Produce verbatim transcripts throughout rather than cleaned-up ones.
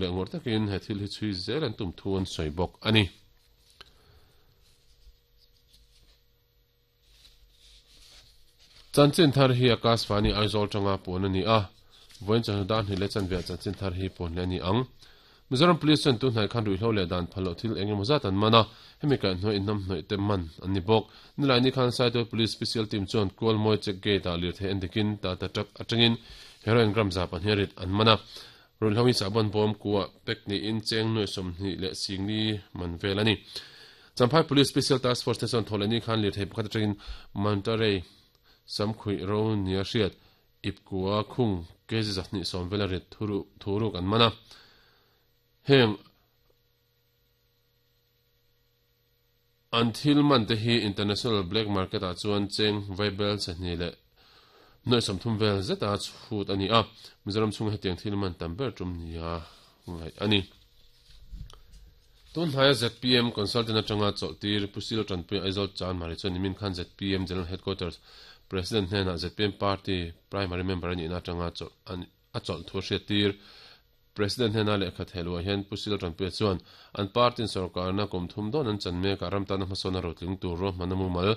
le ngor takin he thil hi chui zel an tum thu an soi bawk ani. Chanchin thar hi Akashvani Aizawl tanga pon ani a voin chan dan hi le chan ve chanchin thar hi pon le ani ang. Mizoram Police chuan tu hnai khan ruihhlo leh dan phal loh thil eng emaw zat an man a, hemi kaih hnuai innam hnawih te man an ni bawk. Nilai ni khan Saitual Police Special Team chuan Kualmawi check gate ah lirthei an dikin Tata truck atangin heroin gram za pahnih rit an man a. Ruihhlo hi sahbawn bawm kuah pek niin cheng nuai sawmhnih leh singli man vel ani. Champhai Police Special Task Force te chuan thawhleh ni khan lirthei pakhat atangin Monterey samkhuih ro nia hriat ipkua khung kg zahnih sawm vela rit thuruk an man a. Heng an thil man te hi international black market ah chuan cheng vaibel sahnih leh nuai sawmthum vel zeta chhut ani a. Mizoram chhung hetiang thil man tam ber tum nia ngai ani. Tun hnaia Z P M consultant atanga chawlhtir Pusil Tanpui Aizawl Chan Mari chuan nimin khan Z P M General Headquarters President hnenah Z P M Party primary member ani na atanga chawlh a chawlh thu hriattir. President hnena lehkha theluah hian Pusil Tanpui chuan an party in sarkarna kum thum dawn an chan mek a ramtana hmasawna rotling tur ro hmana mumal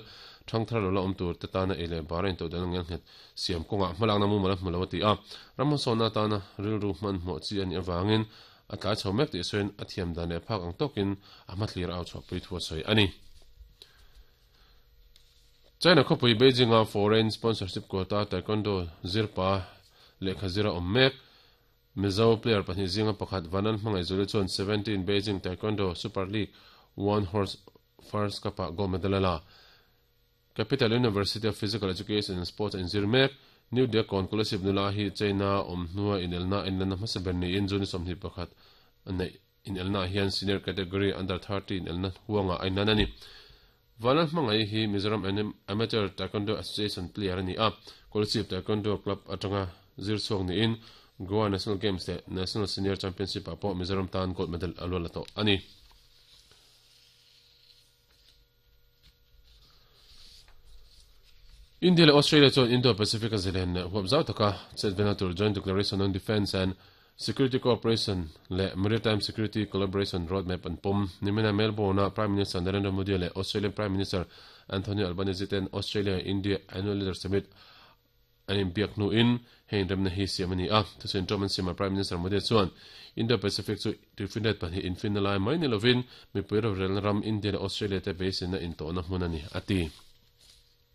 thangthar lo la awm tur te tana ei leh bara in todan ngel nghet siam kawngah hmalakna mumal a hmu lo ati a. Ram hmasawna tana rilru hman hmawh chi ani awangin a tlai chho mek tih sawiin a thiam dan leh phak ang tawkin a hmathlir au chhuahpui thu a sawi ani. China khawpui Beijing a foreign sponsorship quota taekwondo zirpa lehkha zira awm mek Mizo player pahnih zinga pakhat Vanan hmangaih zuli chuan seventeen Beijing Taekwondo Super League One Horse First Cup ah gold medal a la. Capital University of Physical Education and Sports a inzir mek. New Deacon Scholarship nula hi China awm hnua inelna inlana hmasa ber niin June sawmhnih pakhat nei inelna hian senior category under thirty inelna huanga a inlan ani. Vanan hmangaih hi Mizoram Amateur Taekwondo Association player ani a. Scholarship Taekwondo Club atanga zir chhuak niin Goa National Games le National Senior Championship ah pawh Mizoram tan gold medal a lual la tawh ani. India le Australia chuan Indo-Pacific a zelen leh huap zau taka chet vena tur Joint Declaration on Defence and Security Cooperation le Maritime Security Collaboration Roadmap an pawm. Nimina Melbourne a Prime Minister Narendra Modi leh Australian Prime Minister Anthony Albanese ten Australia-India Annual Leader Summit an inbiak hnuin hei inremna hi siam ani a. Thusawi ṭawm an siam a Prime Minister Modi chuan Indo-Pacific chu tuifinriat pahnih infinna lai mai ni lovin mipui rorelna ram India leh Australia te beiseina intawhna hmun ani a ti.